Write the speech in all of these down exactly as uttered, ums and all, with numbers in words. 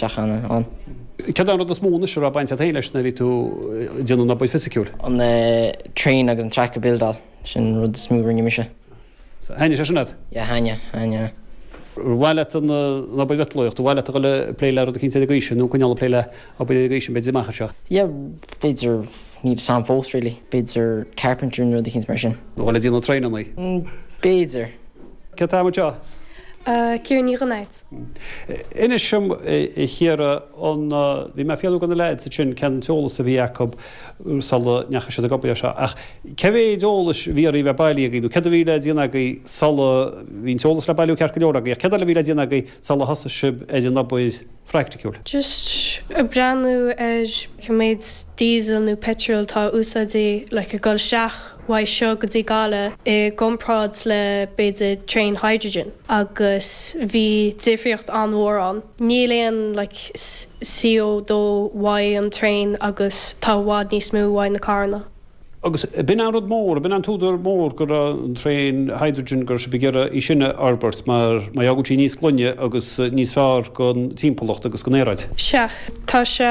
isteach ann ann. Céard an rud is mó anois a raibh baint agat féin leis nuair a bhí tú ag déanamh an obair fisiciúil? An uh, train agus an track a buildáil sin rud is mó rinne mise. Thaitnigh sé sin leat? Yeah thaitnigh thaitnigh. Bhfuil leat an obair mhiotalóireacht, bhfuil leat a dhul ag plé le rud eicínt ar an gcaoi sin nó coinneáil ag plé le obair ar an gcaoi sin b'fhéidir amach anseo. Yeah b'fhéidir níl sam fós really b'fhéidir carpenter nó rud eicínt mar sin. Nó le déanamh traenanna. Mm, B'fhéidir. Cé tá seo? Ciara Ní Ghnáit. Inis dom a Chiara an bhí mé fiafraí de na leaids sin cén t-eolas a bhí acu sula ndeachaigh siad ag obair seo ach cé mhéad eolais bhí a bheith bailithe agaibh nó céard a bhí le déanamh agaibh sula bhí an t-eolas le bailiú ceart go leor agaibh céard eile a bhí le déanamh agaibh sula thosaigh sibh ar an obair phraiticiúil. Just ag breathnú ar cé méid diesel nó petrol tá úsáidte le ag dul isteach uaidh seo go dtí Gaillimh i gcomparáid le b'fhéidir train hydrogen agus bhí difríocht an-mhór ann. Níl aon like, CO dó uaidh an train agus tá i bhfad níos mó uaidh na carranna. Agus b'in an rud mór, b'in an t-údar mór go raibh an train hydrogen gur sibh ag iarraidh í sin a fhorbairt mar mar go bhfuil sí níos glaine agus níos fearr don timpeallacht agus don aeráid. Sea, tá sé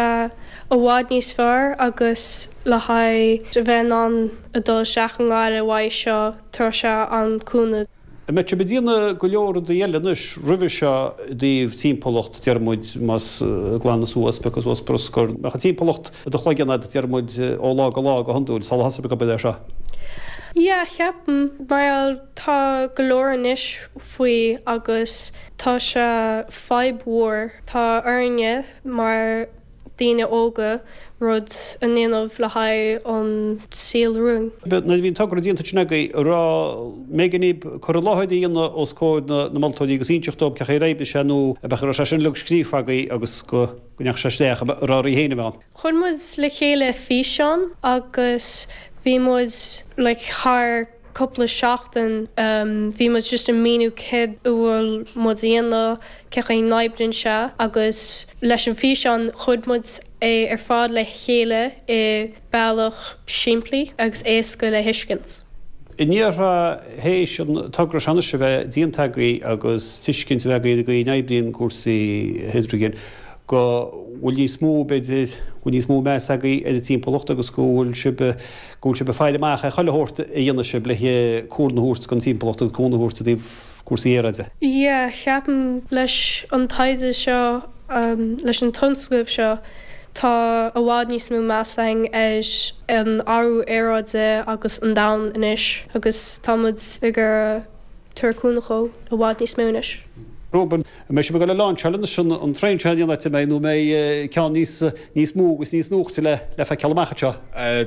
i bhfad níos fearr agus le haghaidh a bheith in ann a dul isteach i nGaillimh uaidh seo tá sé an-chúnamh. An mbeidh sibh ag déanamh go leor rudaí eile anois roimhe seo i dtaobh timpeallacht deir muid más glanadh suas piocadh suas bruscar Ach an timpeallacht do chloigeann deir muid ó lá go lá go hiondúil sula thosaigh sibh ag obair air seo. Yeah, ceapaim mar tá go leor anois faoi agus tá sé fadhb mhór tá orainne mar daoine óga rud a dhéanamh le haghaidh an saol romhainn. Nuair a bhí an togra déanta sin agaibh raibh méigeanna cur i láthair a dhéanamh os comhair na na moltóirí agus inseacht dóibh cén chaoi ar oibrigh sé nó a bheith sé sin uilig scríofa agaibh agus go go ndeachaigh sé isteach a rá féin a bhean. Chuir muid le chéile físeán agus bhí muid like, thar cúpla seachtain um, bhí muid just ag míniú céard a bhfuil muid a dhéanamh cén chaoi a n-oibríonn sé agus leis an físeán chuir muid é ar fad le chéile i bealach simplí agus éasca le tuiscint. Iníortha héis an togra seo a bheith déanta agaibh agus tuiscint a bheith agaibh go n-oibríonn cúrsaí hidrigin go bhfuil níos mó b'fhéidir bhfuil níos mó meas agaibh ar an timpeallacht agus go bhfuil sibh go bhfuil sibh ag faire amach ar chuile shórt a dhéanamh sibh le cúnamh a thabhairt don timpeallacht agus cúnamh a thabhairt i dtaobh cúrsaí aeráide. Yeah, ceapaim leis an taighde seo um, leis an tionscnamh seo tá i bhfad níos mó meas againn ar an athrú aeráide agus an domhan anois agus tá muid ag tabhairt cúnamh dó i bhfad níos mó anois. Ruben, mbeidh sibh ag dul a lainseáil an an traein seo déanta mé nó mbeidh ceann níos níos mó agus níos nuachta le le feiceáil amach seo.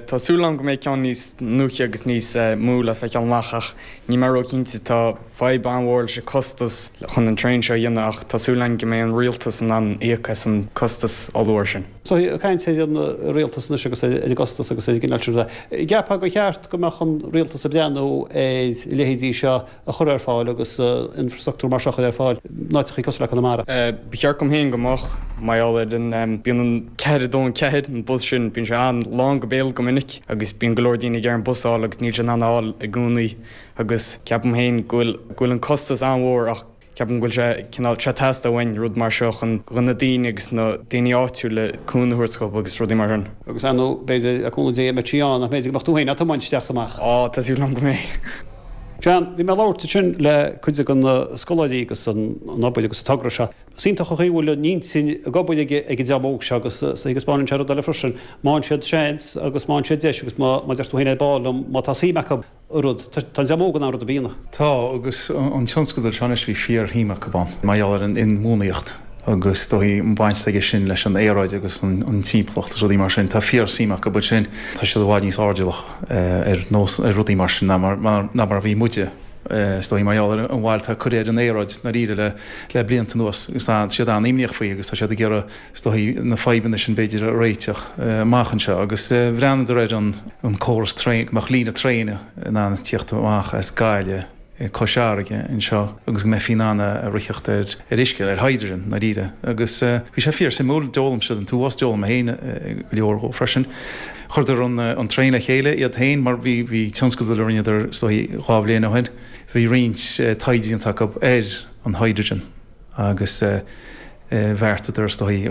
Tá súil agam go mbeidh ceann níos nuacha agus níos mó le feiceáil amach ach níl mé róchinnte tá fadhb an-mhór leis an costas chun an traein seo a dhéanamh ach tá súil agam go mbeidh an rialtas in ann íoc as an costas ollmhór sin. So caint ar an rialtas anois agus ar an gcostas agus ar gin sin. Ceapfá gur cheart go mbeadh an rialtas ag breathnú ar leithéidí seo a chur ar fáil agus infrastruchtúr mar seo ar fáil in áiteacha cosúil le Conamara. Ba cheart dom féin go mbeadh mar ar an bíonn an ceathair dó an ceathair an bus sin bíonn sé an-lán go béal go minic agus bíonn go leor daoine ag iarraidh an bus a fháil agus níl sé in ann fháil i gcónaí agus ceapaim féin go bhfuil go bhfuil an costas an-mhór ach ceapaim go bhfuil sé cineál sé teastaíonn uainn rud mar seo chun chun na daoine agus na daoine áitiúla cúnamh a thabhairt agus rudaí mar sin. Agus anú b'fhéidir a cúnamh Dé mbeidh sí ann ach b'fhéidir go mbeadh tú féin á tiomáint isteach amach. Á tá súil agam go mbeidh. John, bhí mé ag labhairt sin le cuid de na scoláirí agus an obair agus an togra seo. Síntacha chuhfuil an intinn ag obair ag ag an dream óg seo agus sa agus báin sé rud eile freisin. Má fhaigheann siad seans agus má fhaigheann siad deis agus má má deir tú féin ar ball má tá suim acu rud Tá dream óg an rud a bína. Tá agus an tionscadal seo bhí fíorshuim acu ann mar gheall ar an inbhuanaitheacht agus dóigh an baint aige sin leis an aeráid agus an timpeallacht rudaí mar sin tá fíorshuim acu sin tá siad i bhfad níos airdeallach ar nós ar rudaí mar sin ná mar ná mar a bhí muide. Is dóigh mar gheall ar an bhail tá curtha ar an aeráid dáiríre le le blianta anuas agus tá siad an-imníoch faoi agus tá siad ag iarraidh is dóigh na fadhbanna sin b'fhéidir a réiteach amach anseo agus bhreathnaíodar ar an an córas traein go mbeadh líne traein in ann tíocht amach as Gaillimh Cois Fharraige anseo agus go mbeifí in ann a ritheacht ar ar uisce ar hydrogen dáiríre agus bhí sé fíorsuimiúil d'fhoghlaim siad an t-uafás d'fhoghlaim mé féin go leor dhó freisin. Chuireadar an an traein le chéile iad féin mar bhí bhí tionscadal a rinneadar is dóigh dhá bhliain ó shin bhí roinnt taighde acu ar an hydrogen agus bheartaíodar is dóigh